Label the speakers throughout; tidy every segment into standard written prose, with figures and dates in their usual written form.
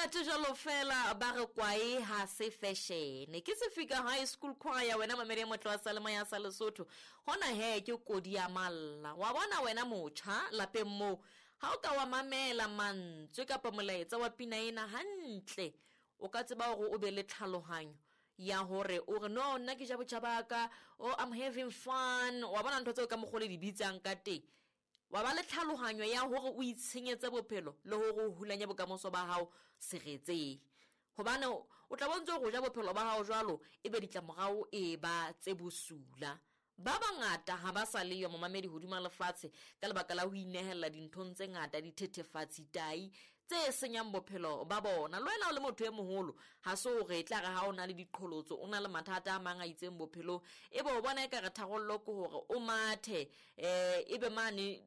Speaker 1: Monate jalo fela ba re kwae ha se fashion. Ke Sefika High School Choir wena mamedi e motle wa Salema ya sa Lesotho. Hona he ke kodi ya malla. Wa bona wena motjha lapeng moo ha o ka wa mamela mantswe kapa molaetsa wa pina ena hantle o ka tseba hore o be le tlhalohanyo ya hore o re no nna ke ja botjha ba ka, oh I'm having fun. Wa bona ntho tseo ka mokgwa o le di bitsang ka teng. Wa ba le tlhalohanyo ya hore o itshenyetse bophelo le hore o hulanye bokamoso ba hao seretseng. Hobane o tla bo ntse o ja bophelo ba hao jwalo, ebe ditlamorao e ba tse bosula. Ba bangata ha ba sa leyo momamedi hodima lefatshe ka lebaka la ho inehella dinthong tse ngata, dithethefatsi, tai tse senyang bophelo ba bona. Le wena o le motho e moholo, ha se hore e tla re ha o na le diqholotso, o na le mathata a mang a itseng bophelong, ebe o bona ekare tharollo ke hore o mathe, ebe mane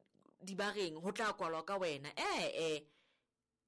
Speaker 1: dibareng ho tla kwalwa ka wena. Eh,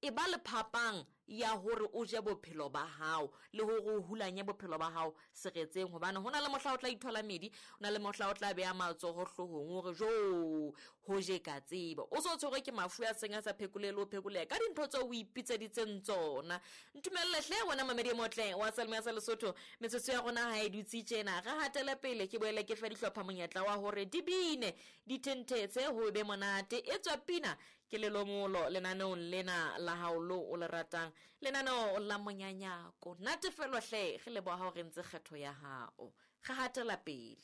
Speaker 1: e ba le phapang ya hore o je bophelo ba hao le hore o hulanye bophelo ba hao seretseng, hobane ho na le mohla o tla ithola medi, ho na le mohla o tla beha matsoho hloohong hore jo ho je ka tseba o so tshwerwe ke mafu a seng a sa phekole le ho phekoleha ka dintho tseo o ipitseditseng tsona. Ntumelle hle wena mamedi e motle wa Salome ya sa Lesotho, metsotso ya rona ha e dutse tjena, re hatele pele ke boele ke fe dihlopha monyetla wa hore di bine di thenthetse ho be monate. E tswa pina ke lelomolo lenaneong lena la hao lo o le ratang, lenaneo la monyanyako. Natefelwa hle ge leboha hore ntse kgetho ya hao. Re hatela pele.